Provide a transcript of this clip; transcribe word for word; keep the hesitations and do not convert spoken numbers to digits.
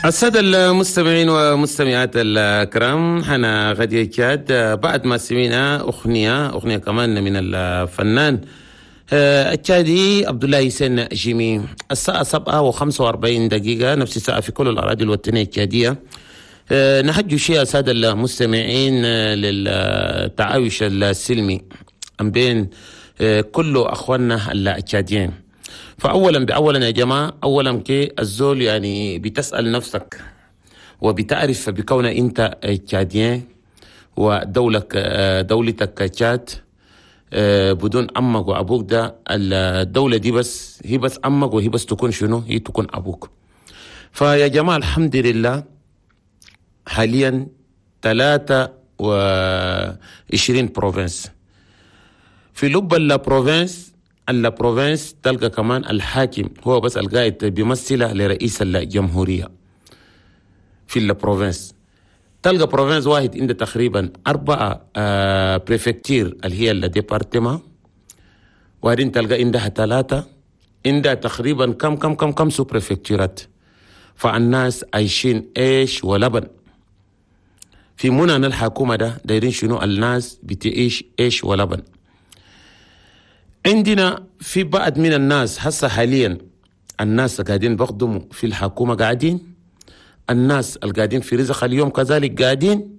السادة المستمعين ومستمعات الكرام، حنا غادي تشاد بعد ما سمعنا أغنية أغنية كمان من الفنان آه، التشادي عبد الله حسين جيمي. الساعة سبعة وخمسة وأربعين دقيقة، نفس الساعة في كل الأراضي الوطنية التشادية. آه، نحج شيء السادة المستمعين آه، للتعايش السلمي بين كل أخواننا التشاديين. فأولا بأولا يا جماعة، أولا كي الزول يعني بتسأل نفسك وبتعرف بكون أنت tchadien ودولك دولتك تشاد بدون أمك وأبوك، ده الدولة دي بس هي بس أمك وهي بس تكون شنو؟ هي تكون أبوك. فيا جماعة الحمد لله حاليا ثلاثة وعشرين provinces، في لب ال province ال province تلقى كمان الحاكم هو بس القائد بيمثله لرئيس الجمهورية في ال province. تلقى province واحد عنده تقريبا أربعة آه préfectures اللي هي ال départements، وبعدين تلقى عندها ثلاثة، عندها تقريبا كم كم كم كم sous-préfecture ات. فالناس عايشين عيش ولبن في منى الحكومة ده دايرين شنو؟ الناس بتعيش عيش ولبن. عندنا في بعض من الناس هسه حاليا الناس قاعدين بخدموا في الحكومة، قاعدين الناس القاعدين في رزق اليوم كذلك قاعدين.